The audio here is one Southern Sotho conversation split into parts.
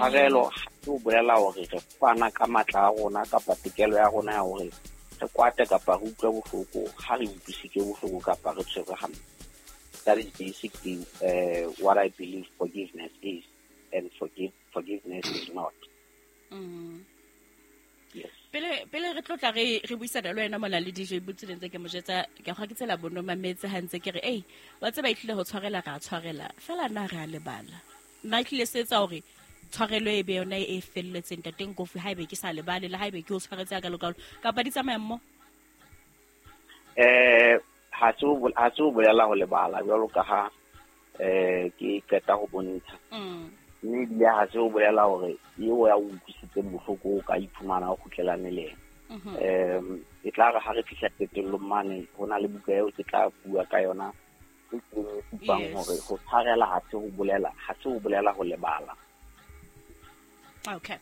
Tshwarelo ke ho bolela hore re fana ka matla a rona kapa tokelo ya rona ya hore re kwate kapa re utlwe bohloko ha re utlwisitswe bohloko kapa re tshwerwe hampe. That is basically what I believe forgiveness is, and forgiveness is not. Yes. Pele re tlotla re buisana le wena mona le DJ Butsi ntse ke mo jetsa ke go ke tsela bono mametse ha ntse ke re ei wa tseba itlile ho tshwarela ra tshwarela fela na re a lebala nna itlile se etsa hore tshwarelo e be yona e felletseng ntate Nkofi ha ebe ke sa lebale le ha ebe ke o tshwaretse ka lokalo kapa di tsamaya mmo. Ha se o bolela ho lebala jwalo ka ha ke qeta ho bontsha. Mme ebile ha se o bolela hore eo ya o utlwisitseng bohloko o ka iphumana o kgutlelane le yena. E tla re ha re fihla qetellong mane ho na le buka eo ke tla bua ka yona e supang hore ho tshwarela ha se ho bolela ha se ho bolela ho lebala. Okay.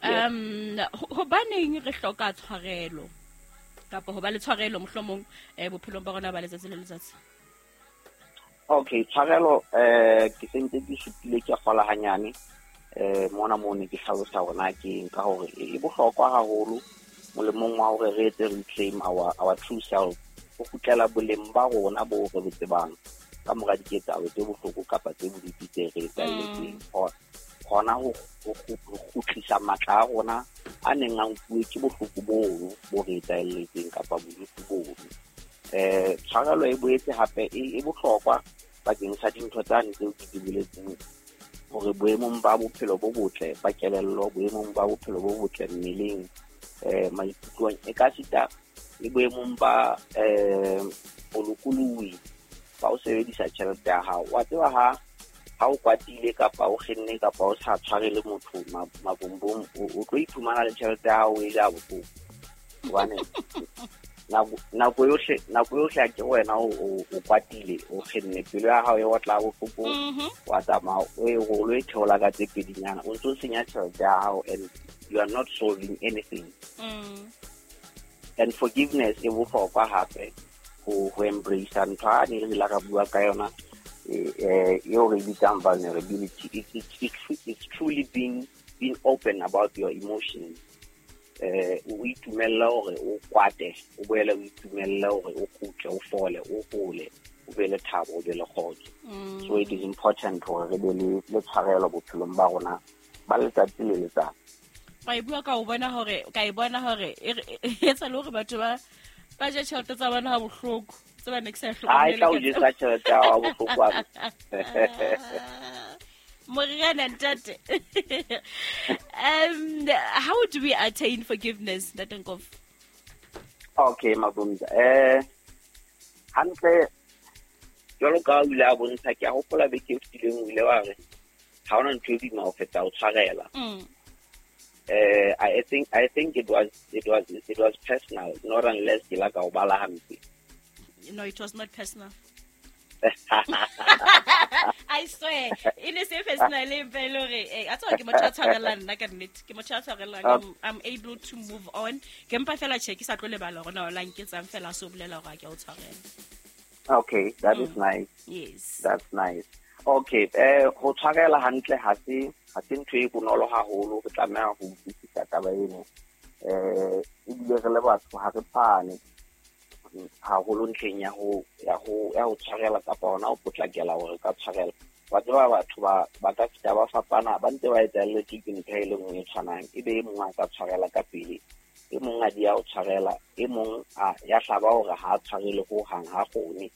Hobaneng re hloka tshwarelo kapa ho ba le tshwarelo mohlomong bophelong ba rona ba letsatsi le letsatsi? Okay, tshwarelo ke sentse ke supile ke kgola hanyane mona mo ne ke hlalosa hore ke nka hore e bohlokwa haholo molemong wa hore re etse reclaim our true self, ho kgutlela boleng ba rona bo re bo tsebang ka mora diketsahalo tse bohloko kapa tse bodutu tse re etsahelletseng. Hona ho kgutlisa matla a rona a neng a nkuwe ke bohloko bono bo re etsahelletseng kapa bodutu bono. Tshwarelo e boetse hape e bohlokwa bakeng sa dintho tsane tseo ke di boletseng hore boemong ba bophelo bo botle ba kelello, boemong ba bophelo bo botle mmeleng, maikutlong, e ka sita le boemong ba bolokolohi ba ho sebedisa tjhelete ya hao. Wa tseba ha o kwatile kapa o kgenne kapa o sa tshwarele motho mabombong, o tlo iphumana le tjhelete ya hao e ja bohloko. Hobane nako yohle a ke wena o kwatile, o kgenne, pelo ya hao e otla bohloko, wa tsamaya o e rolo e theola ka tse pedinyana, o ntso senya tjhelete ya hao and you are not solving anything. And forgiveness e bohlokwa hape ho embrace ntho a ne re la ka bua ka yona eo re bitsang vulnerability. It's truly being open about your emotions. O itumella hore o kwate, o boele o itumella hore o kgutle, o fole, o hole, o be le thabo, o be le kgotso. So it is important hore re be le tshwarelo bophelong ba rona ba letsatsi le letsatsi. Ka e bua ka o bona hore ka e bona hore e etsa le hore batho ba je tjhelete tsa bona ha bohloko tse ba ne ke sa e hlokomele. Ai tla o jesa tjhelete ya hao bohloko wa. Morena ntate. How do we attain forgiveness, Ntate Nkofi? Okay, Mabumza. Hantle jwalo ka o ile a bontsha, ke a hopola beke e fetileng o ile wa re ha hona ntho e boima ho feta ho tshwarela. I think it was personal, not unless ke la ka o bala hampe. No, it was not personal. I swear, in a safe personal level, I thought ke motho a tshwarelang nna ka nnete, ke motho a tshwarelang. I'm able to move on. Ke mpa fela che ke sa tlo lebala hore na o la nketsang fela so bolela hore ke o tshwarela. Okay, that is nice. Yes. That's nice. Okay, ho tshwarela hantle ha se ntho e bonolo haholo, re tlameha ho utlwisisa taba eno. Ebile re le batho ha re tshwane haholo ntlheng ya ho tshwarela kapa hona ho potlakela hore ka tshwarela. Wa tseba batho ba ka fihla ba fapana, ba ntse ba etsahelletswe ke ntho e le nngwe e tshwanang, ebe e mong a ka tshwarela ka pele, e mong a di ya ho tshwarela, e mong a ya hlaba hore ha a tshwarele ho hang, ha kgone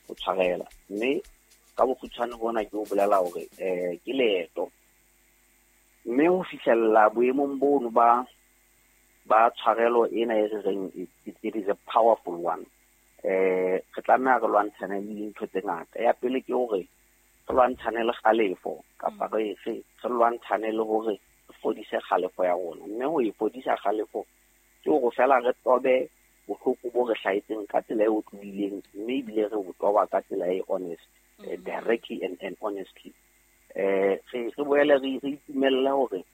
ho tshwarela. Mme ka bokgutshwane bona ke o bolela hore ke leeto, mme ho fihlella boemong bono ba tshwarelo ena e re reng it is a powerful one. Re tlameha re lwantshane le dintho tse ngata. Ya pele ke hore re lwantshane le kgalefo kapa re lwantshane le hore re fodise kgalefo ya rona. Mme ho e fodisa kgalefo ke hore fela re tobe bohloko bo re hlahetseng ka tsela e otlolohileng, mme ebile re bo toba ka tsela e honest, directly and honestly. Re boele re itumelle hore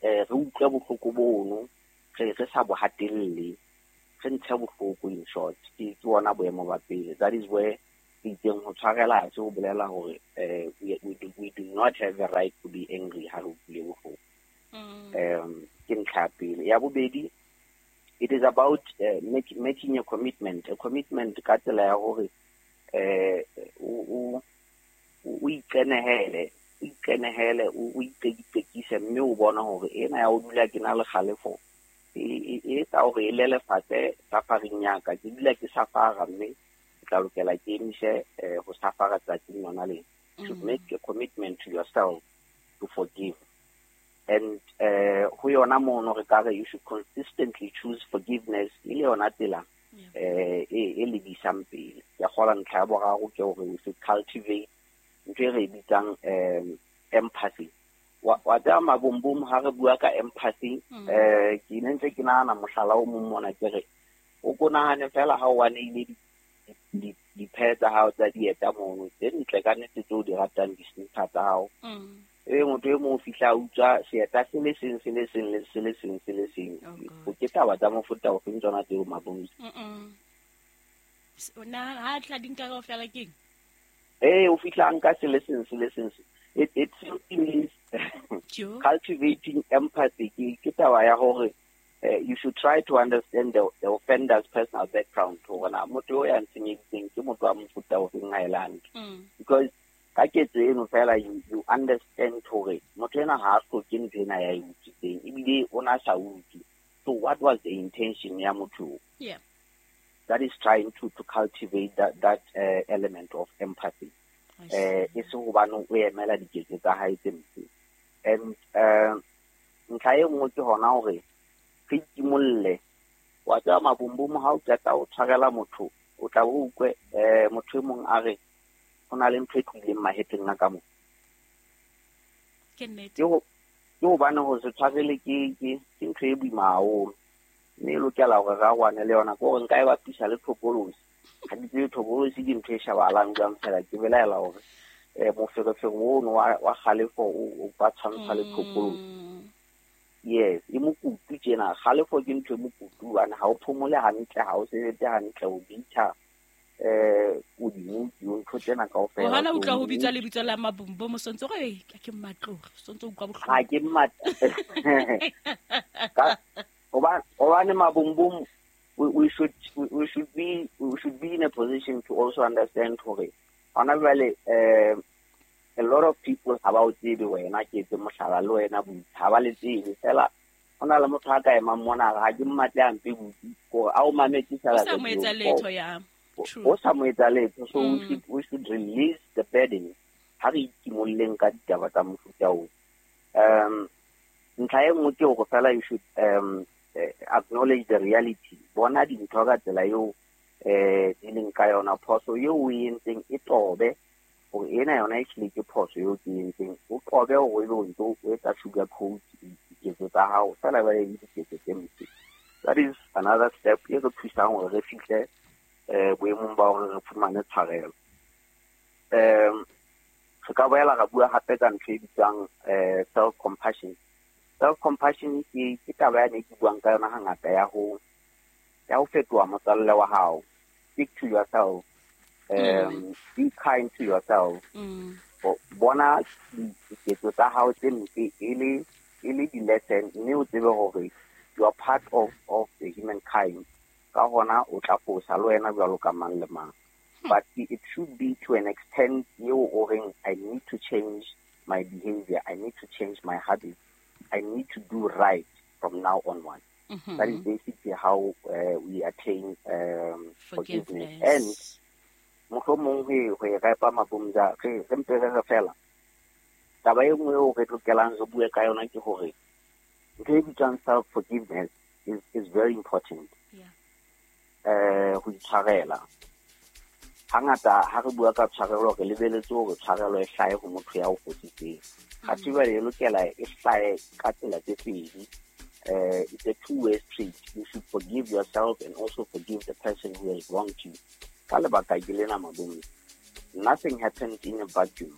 re utlwe bohloko bono, re sa bo hatelle, re ntshe bohloko in short. Ke ona boemo ba pele. That is where re itseng ho tshwarela ha se ho bolela hore we do not have the right to be angry ha re utlwile Ke ntlha ya pele. Ya bobedi, it is about making a commitment. A commitment ka tsela ya hore o iqenehele, o iqekise mme o bona hore ena ya o dula ke na le kgalefo e etsa hore e lelefatse safaring ya ka. Ke dula ke safara mme ke tla lokela ke emise ho safara tsatsing lona lena. You should make a commitment to yourself to forgive. And ho yona mono re ka re you should consistently choose forgiveness e le yona tsela e lebisang pele. Ke kgola ntlha ya boraro ke hore we should cultivate ntho e re e bitsang empathy. Wa tseba Mabombom ha re bua ka empathy, ke ne ntse ke nahana mohlala o mong mona ke re o ko nahane fela ha o waneile diphe tsa hao tsa dieta mono tse ntle ka nnete tseo di ratang di-sneaker tsa hao. E motho e mong o fihla a utswa seeta se le seng se le seng le se le seng se le seng. O ke taba tsa mofuta ofeng tsona tseo Mabombom? Na ha tla di nka kaofela keng? O fihla nka se le seng se le seng. It simply means cultivating empathy. Ke taba ya hore you should try to understand the offender's personal background. Hore na motho o ya nsenyeditseng ke motho wa mofuta ofeng ha e le hantle. Because ka ketso eno fela you understand hore motho ena ha a hloke ntho ena ya e utswitseng ebile o na sa utswe. So what was the intention ya motho? Yeah. That is trying to cultivate that element of empathy. E se hobane o emela diketso tsa hae tse mpe. And ntlha e nngwe ke hona hore re ikimolle. Wa tseba Mabombom ha o qeta o tshwarela motho, o tla o utlwe motho e mong a re ho na le ntho e tlohileng mahetleng a ka mo. Ke nnete. Ke hobane ho se tshwarele ke ntho e boima haholo. Mme e lokela hore re arohane le yona. Ke hore nka e bapisa le thokolosi. Ha ke tsebe thokolosi ke ntho e shebahalang jwang fela ke belaela hore moferefere ono wa kgalefo o ka tshwantsha le thokolosi. Yes, e mokutu tjena. Kgalefo ke ntho e mokutu hobane ha o phomole hantle, ha o sebetse hantle, o bitha o di ntho tsena kaofela. O hana utlwa ho bitswa lebitso la Mabombom o sontso re ke mmatloge, sontso utlwa bohloko. Ha ke mmat. Hobane Mabombom we should be in a position to also understand hore hona jwale a lot of people ha ba o tsebe wena ke etse mohlala le wena botho ha ba le tsebe fela hona le motho a ka emang mona ha ke mmatle a mpe botho gore a o mametse fela o sa mo etsa letho ya o sa mo etsa letho. So we should release the burden ha re ikimolleng ka ditaba tsa mofuta oo. Ntlha e nngwe ke hore fela you should acknowledge the reality. Bona dintho ka tsela eo di leng ka yona. Phoso eo o e entseng e tobe hore ena yona e hlile ke phoso eo ke entseng. O qobe hore ebe o ntso o etsa sugar coat diketso tsa hao fela ba le diketso tse mpe. That is another step e re thusang hore re fihle boemong ba hore re fumane tshwarelo. Re ka boela ra bua hape ka ntho e bitswang self compassion. Self compassion ke taba ya ne ke buang ka yona hangata ya ho fetoha motswalle wa hao. Speak to yourself. Be kind to yourself. Bona diketso tsa hao tse mpe e le di-lesson mme o tsebe hore you are part of the humankind. Ka hona o tla fosa le wena jwalo ka mang le mang. But it should be to an extent eo o reng I need to change my behavior, I need to change my habits, I need to do right from now onward. That is basically how we attain forgiveness. And mohlomong ho e repa Mabumza re mpe re fela. Taba e nngwe eo re lokelang re bue ka yona ke hore ntho e bitswang self forgiveness is very important. Yeah. Ho itshwarela. Hangata ha re bua ka tshwarelo re lebeletse hore tshwarelo e hlahe ho motho ya o fositseng. Athe jwale e lokela e hlahe ka tsela tse pedi. It's a two-way street. You should forgive yourself and also forgive the person who has wronged you. Ka lebaka ke lena Mabombom. Nothing happens in a vacuum.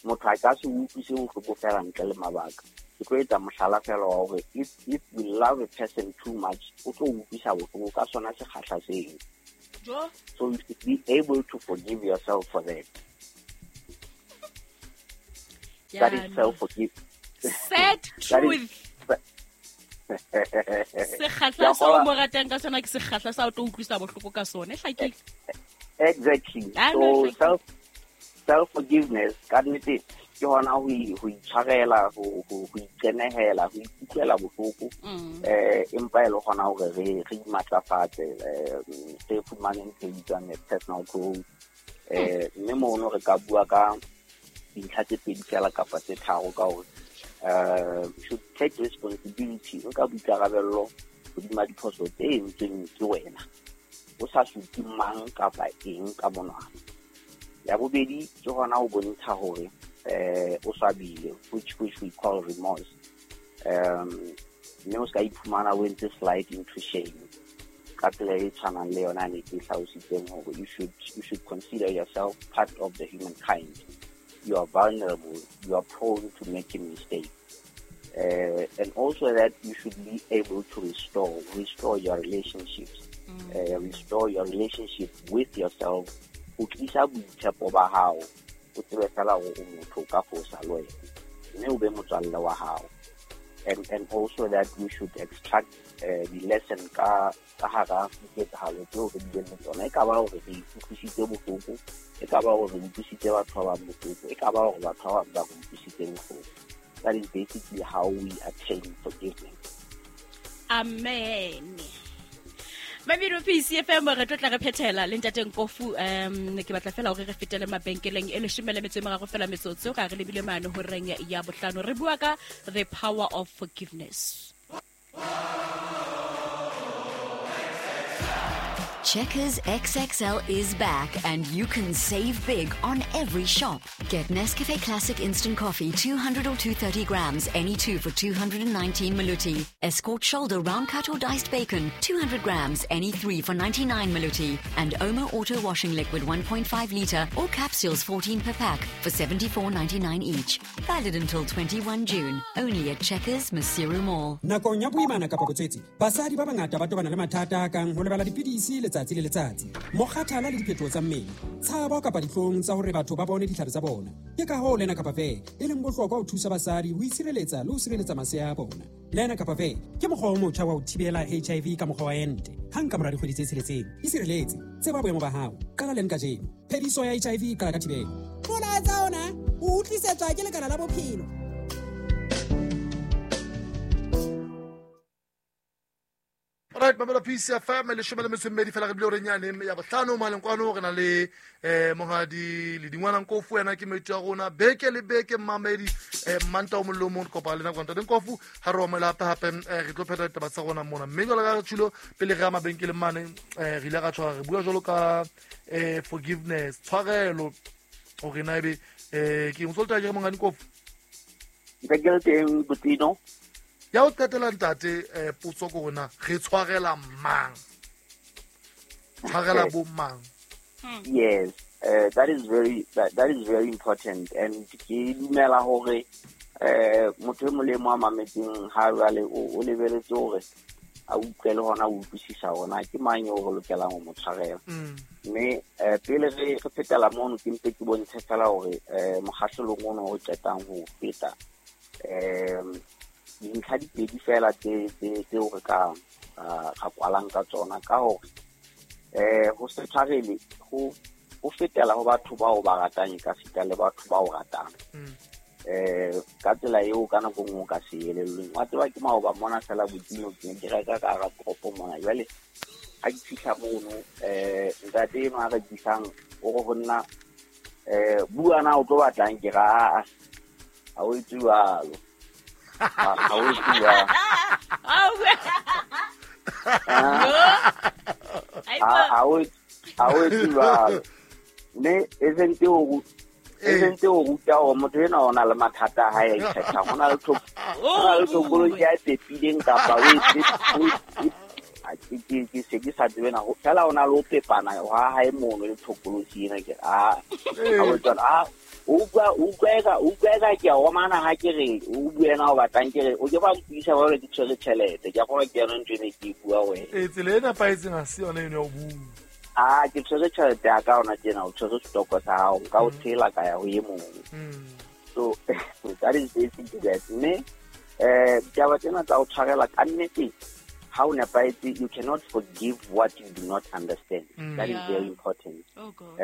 Motho a ka se utlwise bohloko fela ntle le mabaka. Ke tlo etsa mohlala fela wa hore if we love a person too much, o tlo utlwisa bohloko ka sona sekgahla seo. So you should be able to forgive yourself for that. That is self-forgiveness. Sad truth. Sekgahla seo o mo ratang ka sona ke sekgahla sa o tlo utlwisa bohloko ka sona. E hlakile. Exactly. Ah, no, So self forgiveness ka nnete ke hona ho itshwarela, ho iqenehela, ho ikutlwela bohloko, empa e le hona hore re imatlafatse, re fumane ntho e bitswang personal growth. Mme mono re ka bua ka dintlha tse pedi fela kapa tse tharo ka hore should take responsibility, nka boikarabello hodima diphoso tse entsweng ke wena, o sa supe mang kapa eng ka monwana. Ya bobedi ke hona ho bontsha hore o swabile, which we call remorse, mme o ska iphumana o entse slide into shame ka tsela e tshwanang le yona ne ke hlalositseng hore you should consider yourself part of the humankind. You are vulnerable, you are prone to making mistakes, and also that you should be able to restore your relationships, restore your relationship with yourself, o tlisa boitshepo ba hao, o tsebe fela hore o motho, o ka fosa le wena, mme o be motswalle wa hao. And also that we should extract the lesson ka hara diketsahalo tseo re bileng le tsona, e ka ba hore re utlwisitse bohloko, e ka ba hore re utlwisitse batho ba bang bohloko, e ka ba hore batho ba bang ba re utlwisitse bohloko. That is basically how we attain forgiveness. Amen. Mamedi PCFM, re tlo tla re phethela le ntate Nkofu. Ke batla fela hore re fetele mabenkeleng e 13 fela metsotso ka re lebile mane horeng ya 5. Re bua ka the power of forgiveness. Checkers XXL is back and you can save big on every shop. Get Nescafe Classic Instant Coffee 200 or 230 grams, any two for 219 Maluti. Escort Shoulder Round Cut or Diced Bacon 200 grams, any three for 99 Maluti. And Omo Auto Washing Liquid 1.5 litre or capsules 14 per pack for 74.99 each. Valid until 21 June. Only at Checkers Maseru Mall. Nakong ya boimana kapa botswetse, basadi ba bangata ba tobana le mathata a kang ho lebala dipidisi letsatsi le letsatsi, mokgathala le diphetoho tsa mmele, tshabo kapa dihlong tsa hore batho ba bone ditlhare tsa bona. Ke ka hoo Lenacapavir e leng bohlokwa ho thusa basadi ho itshireletsa le ho sireletsa masea a bona. Lenacapavir ke mokgwa o motjha wa ho thibela HIV ka mokgwa wa ente hang ka mora dikgwedi tse 6. Isireletse, tseba boemo ba hao, qala leng kajeno. Phediso ya HIV e qala ka thibelo. Molaetsa ona o utlwisetswa ke lekala la bophelo. Right, mamela PCFM, 12 fela re bile horeng yane ya 5 maleng kwano. Re na le monghadi le dingwana Nkofu, yena ke moeti wa rona beke le beke. Mmamedi, manta o mollo o mong re kopana le nako ntate Nkofu ha re omela hape hape, re tlo phetha ditaba tsa rona mona. Mme jwalo ka re tshilo pele re ya mabenkeleng mane, re ile ra tshwara re bua jwalo ka forgiveness, tshwarelo, hore na ebe ke eng. O tsa ke monghadi Nkofu? Ntse ke le teng, Botino. Ya ho qetela ntate, potso ko rona re tshwarela mang, tshwarela bo mang? Yes, that is very important, and ke dumela hore motho e mong le e mong a mametseng ha jwale o lebeletse hore a utlwe le hona o utlwisisa hore na ke mang eo re lokelang ho mo tshwarela. Mme pele re fetela mono, ke mpe ke bontshe fela hore mokgahlelong ono o qetang ho feta, dintlha di pedi fela tse tseo re ka ra kwalang ka tsona, ka hore ho se tshwarele ho fetela ho batho bao ba ratang, e ka sita le batho ba o ratang ka tsela eo ka nako nngwe o ka se elellweng. Wa tseba, ke maoba mona fela, Botino, ke ne ke reka ka hara toropo mona. Jwale ha ke fihla mono, ntate eno a rekisang o re ho nna, "Bua na o tlo batlang?" Ke ra, "Aa, ha o etse jwalo. Ha o etse jwalo." Ha o etse jwalo. Mme e sentse o ruta hore motho enwa o na le mathata a hae a ikgethang, ho na le tokolohi ya e pepileng kapa o ke se ke sa tsebe na fela o na le ho pepana ha hae mono le thokolosi ena. Ke a ha o tswa a o utlwa eka ke a omana ha ke re o bue na o batlang, ke re o ke ba mpuisa ba ke tshwere tjhelete, ke a kgolwa ke yona ntho ene ke e bua wena. Ee, tsela e nepahetseng ha se yona eno ya ho bua. A ke tshwere tjhelete ya ka ona tjena, o tshwere setoko sa hao, nka o tshela ka ya ho e mong. So that is basically that. Mme ditaba tsena tsa ho tshwarela ka nnete, ha o nepahetse, you cannot forgive what you do not understand. That is very important. Oh God.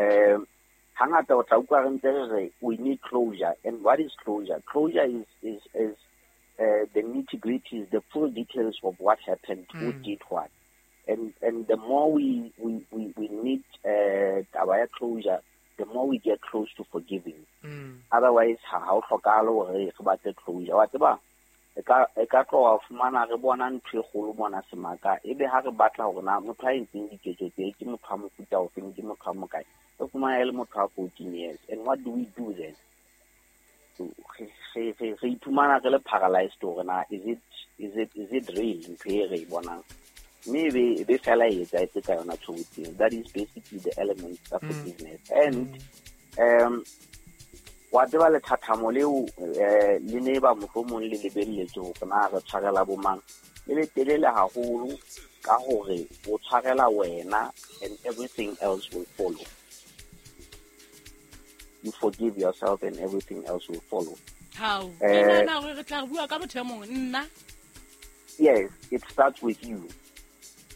Hangata o tla utlwa re ntse re re we need closure. And what is closure? Closure is the nitty-gritties, the full details of what happened, who did what. And the more we need taba ya closure, the more we get close to forgiving. Otherwise, ha o hlokahale hore re batle closure. Wa tseba, e ka tloha fumana re bona ntho e kgolo mona semaka, ebe ha re batla hore na motho a entseng diketso tse ke motho wa mofuta ofeng, ke motho wa mokae, re fumana e le motho wa 14 years. And what do we do then? So re iphumana re le paralyzed hore na is it real ntho e re e bonang? Mme e be fela e etsahetse ka yona tshobotsi. That is basically the elements of forgiveness. And wa tseba lethathamo leo le ne ba mohlomong le lebelletse hore na re tshwarela bo mang, le le telele haholo ka hore o tshwarela wena and everything else will follow. You forgive yourself and everything else will follow. How? Ke nahana hore re tla bua ka motho e mong, nna. Yes, it starts with you.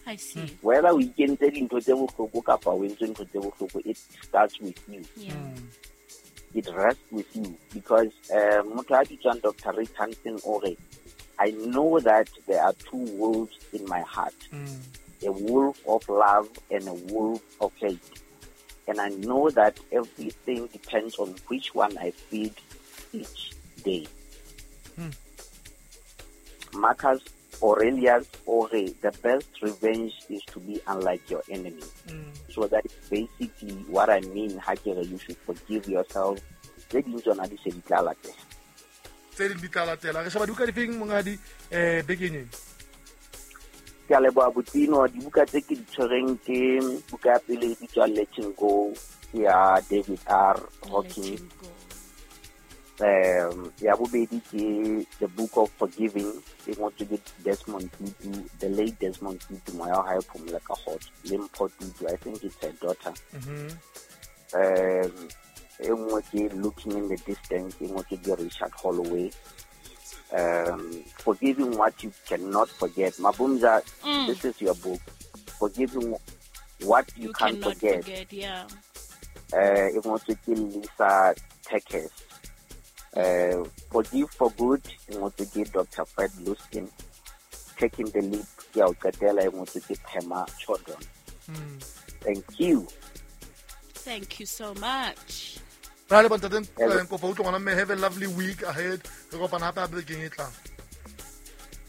I see. Whether o ikentse dintho tse bohloko kapa o entse ntho tse bohloko, it starts with you. Yeah. It rests with you because motho a bitswang Dr. Rick Hansen o re, I know that there are two wolves in my heart, a wolf of love and a wolf of hate. And I know that everything depends on which one I feed each day. Marcus Aurelius Ore, the best revenge is to be unlike your enemy. So that is basically what I mean. Ha ke re you should forgive yourself. Tse ding tsona di se di tla latela. Tse ding di tla latela. Re sheba dibuka difeng monghadi bekeng ena? Ke a leboha Botino. Dibuka tse ke di tshwereng ke buka ya pele e bitswang Letting Go ya David R. Hawkins. Ya bobedi ke The Book of Forgiving e ngotswe ke Desmond Tutu, the late Desmond Tutu, moya wa hae phomole ka kgotso, le Mpho Tutu, I think it's her daughter. E nngwe ke Looking in the Distance e ngotswe ke Richard Holloway. Forgiving What You Cannot Forget. Mabumza, this is your book. Forgiving What You Can't Forget. Yeah. E ngotswe ke Lisa Tekes. Forgive for Good e ngotswe ke Dr. Fred Luskin. Taking the Leap ke ya ho qetela e ngotswe ke Pema Chodron. Thank you. Thank you so much. Ra le bontate Nkofa, utlwa ngwana mme, have a lovely week ahead. Re kopana hape hape bekeng e tlang.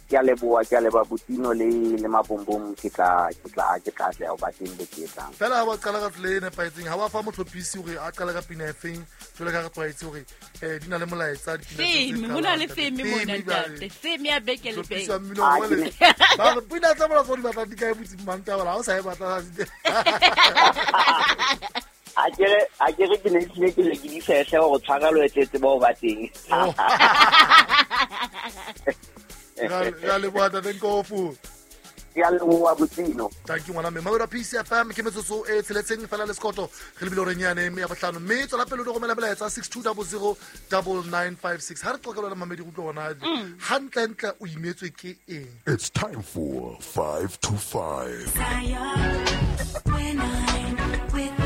Ke a leboha, ke a leboha Botino le Mabombom, ke tla atleha ho ba teng beke e tlang. Fela ha ba qala ka tsela e nepahetseng, ha ba fa motlhophisi hore a qale ka pina e feng, jwalo ka re tlwaetse hore di na le molaetsa dipina tse Theme, ho na le theme mona ntate. Theme ya beke le beke. Motlhophisi wa mmino wa le- Ba re pina tsa bona tsa di batla di kae botsi Mantaba, ha o sa e batla. A ke re ke ne tlile ke le ke di fehle hore tshwarelo e tletse bao ba teng. Ra leboha Ntate Nkofu. Ke a leboha Botino. Thank you ngwana mme. Mamelo PCFM ke metsotso e tsheletseng fela le sekoto re lebile horeng yane ya bohlano, mme tswela pele o di romela melaetsa 62009956. Ha re qoqela le mamedi go utlwa hona hantlentle o imetswe ke eng. It's time for 5 to 5. When I'm with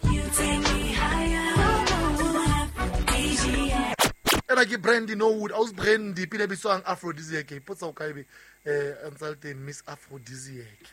you, you take me higher. Ena ke Brandy Norwood, aus Brandy, pina e bitswang Aphrodisiac. Ipotsa o kae be ntse le teng Miss Aphrodisiac.